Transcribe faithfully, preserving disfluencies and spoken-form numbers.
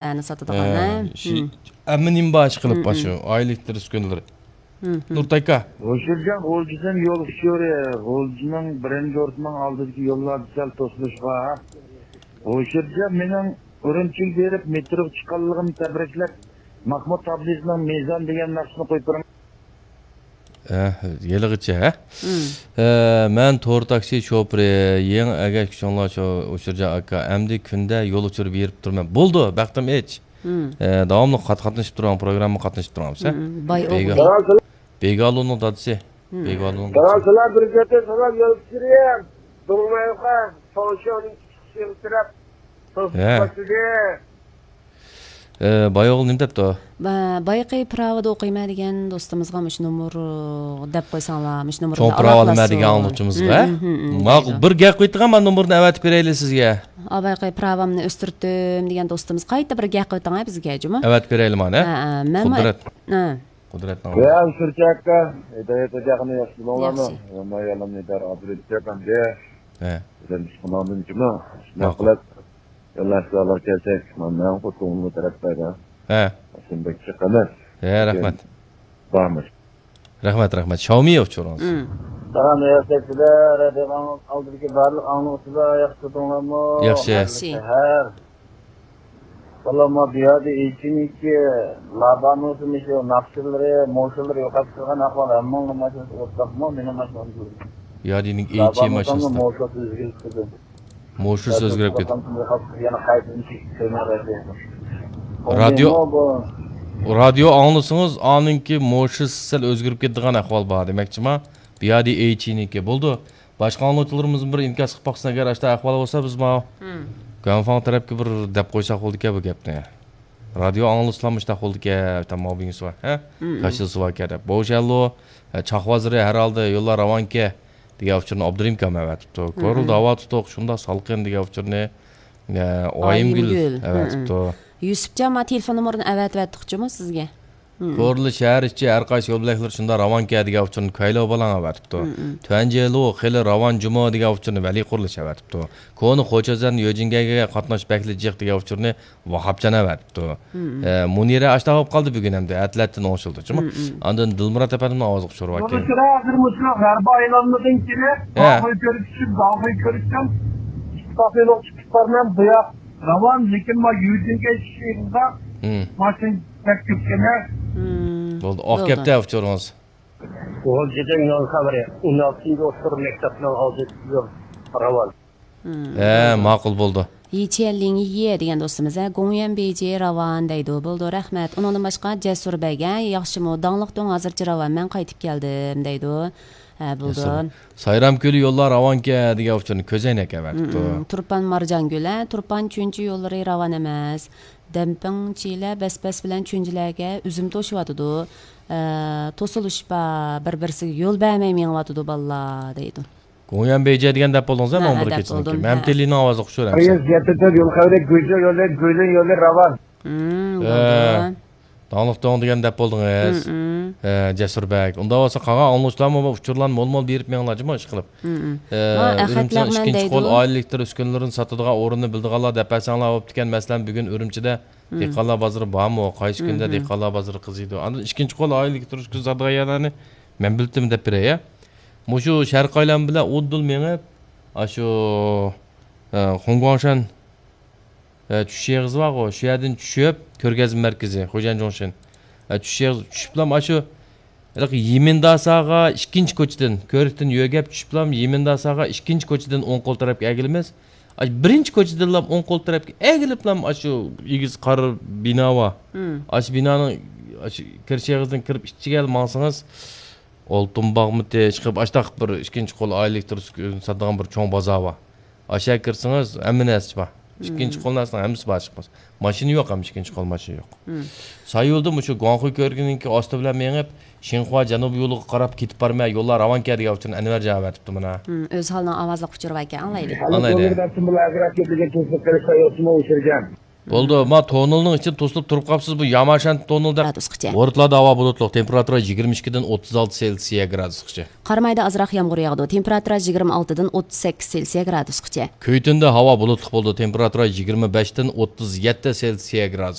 ئەنە ساتىدىغان، ھە، ھە؟ شى-، ھەممە نېمە بار ئىشقىلىپ، ھە، بار شۇ ئائىلە ئېلېكتر ئۈسكۈنىلىرى. ھە، ھە. نۇرتاكا. ھوشۇرجان، غۇلجىدىن يول ئۇچۇرى، غۇلجىنىڭ بىرىنچى ئورتىنىڭ ئالدىدىكى يوللاردا سەل توسۇلۇش بار. ھوشۇرجان، مېنىڭ ئۈرۈمچىگە بېرىپ مېتروغا چىققانلىقىمنى تەبرىكلەپ، ماھمۇد تابلىسىنىڭ مىزان دېگەن ناخشىسىنى قويۇپ بېرىڭ. ئە، ھېلىغىچە، ھە؟ مم. ئە، مەن تور تاكسى شوپۇرى، يېڭى ئەگەشكۈچىڭلار شۇ ئۇچۇرجان ئاكا. ئەمدى كۈندە يول ئۇچۇرى بېرىپ تۇرىمەن. بولدى، بەختىم ئېچ. مم. ئە، داۋاملىق قات-، قاتنىشىپ تۇرۇڭ، پروگراممىغا قاتنىشىپ تۇرۇڭ، ھە؟ مم. باي ئوغلى. بېگا-، بېگالۇنىڭ دادىسى. مم. بېگالۇنىڭ دادىسى. سالام، سالام، بىر گەپتە سالام، يول ئۇچۇرى. دوڭمايوقا، تونشياۋنىڭ كىچىك شېڭ تەرەپ. ھە. توسۇپ باشلىدى. ئە، بايوغۇل نېمە دەپتۇ؟ با-، بايىقى پىراۋىدا ئوقۇيمەن دېگەن دوستىمىزغا مۇشۇ نومۇر دەپ قويساڭلار، مۇشۇ نومۇرنى چوڭ پىراۋا ئالالايسىز. ئالىمەن دېگەن ئاڭلىغۇچىمىزغا. ھە؟ ھىم، ھىم، ھىم، ماقۇل، دەيدۇ. بىر گەپ قىلىۋېتىڭ، مەن نومۇرنى ئەۋەتىپ بېرەيلى سىزگە. ئا، بايىقى پىراۋامنى ئۆستۈرتتۈم دېگەن دوستىمىز قايتا بىر گەپ قىلىۋېتىڭ بىزگە، جۇمۇ. ئەۋەتىپ بېرەيلى مانا. ھە، ھە، مەن قۇدرەت. ھە. قۇدرەتنىڭ يا، ئۇچۇرچى ئاكا، ھىدايەت ھاجى ئاكىنى ياخشى بىلىڭلارمۇ؟ ياخشى. يامان يالىمنى دەر ئابدۇرېزىق ئەپەندى. ھە. بىزدىن ئىشقىلىڭدىن جۇمۇ. شۇنداق ماقۇل. قىلىپ، يوللاشلارغا كەلسەك، مانا مەن خوتۇنۇمنى تەرەپ بەردى. ھە. شۇنداق چىقىمىز. ھە، رەھمەت. بارمىز. رەھمەت، رەھمەت. شاۋمى ئۇچۇرىڭىز. مم. سالام، رىياسەتچىلەر، رادىيونىڭ ئالدىدىكى بارلىق ئاڭلىغۇچىلار، ياخشى تۇردۇڭلارمۇ؟ ياخشى. ياخشى. ھەر بالامغا بۇ يەردە ئېچىنىكى لابانۇسىمۇ شۇ ناخشىلىرى، موشۇلىرى يوقاپ چىققان ئەھۋال ھەممىڭنىڭ ماشىنىسى ئورتاقمۇ؟ مېنىڭ ماشىنام شۇ. يادىنىڭ ئېچى لابانۇسىمۇ ماشىنىسىدا. موشۇلىرى ئۆزگىرىپ كېتىدۇ. موشۇسى ئۆزگىرىپ كېتىدۇ. يەنە قايتىدىن چېكىپ كۆرمەي قايتىدۇ. رادىيو، رادىيو ئاڭلىسىڭىز، ئانىڭكى موشۇسى سەل ئۆزگىرىپ كېتىدىغان ئەھۋال بار دېمەكچىما؟ بۇ يەردە ئېچىنىكى. بولدى. باشقا ئاڭلىغۇچىلىرىمىز بىر ئىنكاس قىلىپ باقسۇن، ئەگەر ئاشۇنداق ئەھۋال بولسا، بىز ماۋۇ مم. گۇەنفاڭ تەرەپكە بىر دەپ قويساق بولىدىكەن بۇ گەپنى. رادىيو ئاڭلىسىلا مۇشۇنداق بولىدىكەن، تاماۋ بىڭسۇ، ھە؟ مم. كاشىلسۇ باركەن دەپ. بوشەللۇ، چاقۋازىرى ھەر ھالدا يوللار راۋانكەن دېگەن ئۇچۇرنى ئابدۇرېھىم ئاكام ئەۋەتىپتۇ. مم. كورلا داۋا تۇتۇق، شۇنداق سالقىن دېگەن ئۇچۇرنى، ئە، ئايىمگۈل ئايىمگۈل. ئەۋەتىپتۇ. مم. يۈسۈپجان، ما تېلېفون نومۇرىنى ئەۋەتىۋەتتۇقچىمۇ سىزگە؟ مم. كورلا شەھەر ئىچى ھەر قايسى يول بۆلەكلىرى شۇنداق راۋانكەن دېگەن ئۇچۇرنى كايلو بالاڭ ئەۋەتىپتۇ. مم، مم. تۈەنجېلۇ خېلى راۋان جۇمۇ دېگەن ئۇچۇرنى ۋەلى قۇرۇلۇش ئەۋەتىپتۇ. كونا خوچازەن يۆجىنگەيگە قاتناش بەكلا جىق دېگەن ئۇچۇرنى ۋاھاپجان ئەۋەتىپتۇ. مم، مم. ئە، مۇنىرە ئاشتا بولۇپ قالدى بۈگۈن ئەمدى. ئەتىلەتتىن ئوڭشىلدى جۇمۇ. مم، مم. ئاندىن دىلمۇرات ئەپەندىمنىڭ ئاۋازىغا ئۇچۇرۇۋەتكەن. بۇنىڭ سىرى ھازىر مۇشۇ غەربىي ئايلانمىدىن كېلىپ، ھە. داخىل كۆرۈپ چۈشۈپ، داخىل كۆرۈشتىن ئىتتىپاقلىق چىقىپ بارمەن بۇ ياق. راۋان، لېكىن ما يۈزۈڭگە چۈشۈشىڭىزدا مم. ماشىنا بەك كۆپكەن. مم. بولدى، ئاق بولدى. گەپتە ئۇچۇرىڭىز. غۇلجىدىن يول خەۋىرى، ئون ئالتىنچى ئوتتۇرا مەكتەپنىڭ ئالدىدا يول راۋان. مم، ھە، بولدى. ماقۇل بولدى. يىچيەنلىڭ يىيە دېگەن دوستىمىز، ھە، گوڭيۈەن بېيجى راۋان دەيدۇ. بولدى، رەھمەت. ئۇنىڭدىن باشقا جەسۇر بەگ، ھە، ياخشىمۇ؟ داڭلىق دۆڭ ھازىرچە راۋان، مەن قايتىپ كەلدىم دەيدۇ. ھە، بولدى. ياسىن. سايرام كۆلى يوللار راۋانكەن دېگەن ئۇچۇرنى كۆزەينەك ئەۋەتىپتۇ. مم، تۇرپان مارجانگۈل، ھە، تۇرپان چۈنچى يوللىرى راۋان ئەمەس. دەمپىڭ، چىلە، بەسبەس بىلەن چۈنجىلەرگە ئۈزۈم توشۇۋاتىدۇ. ئە، توسۇلۇش بار، بىر-بىرسىگە يول بەرمەي مېڭىۋاتىدۇ بالىلار دەيدۇ. گوڭيۈەن بېيجى دېگەن دەپ بولدىڭىز، ھە، ماڭا بىر دەپ كېسىنىڭكى. بولدۇم، مەمتىلىنىڭ ئاۋازى ئوخشاش. رەيس، يەتتە تۆت يول خەۋىرى، گۈجۈ يولى، گۈلۈن يولى راۋان. مم، ھە. بولدى. داڭلىق دۆڭ دېگەن دەپ بولدىڭىز. مم، مم. ھە، جەسۇر بەگ. ئۇنداق بولسا قالغان ئاڭلىغۇچىلارمۇ بۇ ئۇچۇرلارنى مول-مول بېرىپ مېڭىڭلار جۇمۇ، ئىشقىلىپ. مم، مم. ئە، ھە، ئۈرۈمچىنىڭ ئەخەتلەرمەن ئىككىنچى قول دەيدۇ. ئائىلە ئېلېكتر ئۈسكۈنىلىرىنى ساتىدىغان ئورۇننى بىلىدىغانلار دەپ بەرسەڭلار بوپتىكەن. مەسىلەن، بۈگۈن ئۈرۈمچىدە مم. دېھقانلار بازىرى بارمۇ؟ قايسى كۈندە مم، مم. دېھقانلار بازىرى قىزىيدۇ؟ ئاندىن ئىككىنچى قول ئائىلە ئېلېكتر ئۈسكۈنە ساتىدىغان يەرلەرنى مەن بىلدىم دەپ بېرەي، ھە؟ مۇشۇ شەرقىي ئايلان بىلەن ئۇدۇل مېڭىپ، ئاشۇ، ئە، خۇڭگۇاڭشەن ئە، چۈشۈش ئېغىزى بارغۇ، شۇ يەردىن چۈشۈپ، كۆرگەزمە مەركىزى، خۇجيەن جۇڭشىن. ئە، چۈشۈش ئېغىزى چۈشۈپلا، ئاشۇ، ھېلىقى يىمىنداساغا ئىككىنچى كوچىدىن، كۆرۈكتىن يۆگەپ چۈشۈپلا، يىمىنداساغا ئىككىنچى كوچىدىن ئوڭ قول تەرەپكە ئەگىلىمىز. ئاشۇ بىرىنچى كوچىدىنلا ئوڭ قول تەرەپكە ئەگىلىپلا، ئاشۇ ئېگىز قارا بىنا بار. مم. ئاشۇ بىنانىڭ، ئاشۇ كىرىش ئېغىزىدىن كىرىپ ئىچىگە ماڭسىڭىز، ئالتۇن باغمىتى، ئىشقىلىپ، ئاشتاق بىر ئىككىنچى قول ئائىلە ئېلېكتر ساتىدىغان بىر چوڭ بازار بار. ئاشۇ يەرگە كىرسىڭىز، ھەممە نەرسە بار. ئىككىنچى مم. قول نەرسىنىڭ ھەممىسى بار، ئىشقىلىپ. ماشىنا يوق، ھەم ئىككىنچى قول ماشىنا يوق. مم. ساييولدا مۇشۇ گۇاڭخۇي كۆۋرۈكىنىڭكى ئاستى بىلەن مېڭىپ، شىنخۇا جەنۇبىي يولىغا قاراپ كېتىپ بارىمەن، يوللار راۋانكەن دېگەن ئۇچۇرنى ئەنۋەرجان ئەۋەتىپتۇ مانا. مم، ئۆز ھالىنىڭ ئاۋازلىق ئۇچۇرى باركەن، ئاڭلايلى. ئاڭلايلى. بولدى، ما تونېلنىڭ ئىچىدە توسۇلۇپ تۇرۇپ قاپسىز، بۇ ياماشانتى تونېلدا. گرادۇسقىچە. ھورۇتلاردا ھاۋا بۇلۇتلۇق، تېمپېراتۇرا يىگىرمە ئىككىدىن ئوتتۇز ئالتە سېلسىيە گرادۇسقىچە. قارامايدا ئازراق يامغۇر ياغىدۇ، تېمپېراتۇرا يىگىرمە ئالتىدىن ئوتتۇز سەككىز سېلسىيە گرادۇسقىچە. كۈيتۈندە ھاۋا بۇلۇتلۇق بولىدۇ، تېمپېراتۇرا يىگىرمە بەشتىن ئوتتۇز يەتتە سېلسىيە گرادۇس.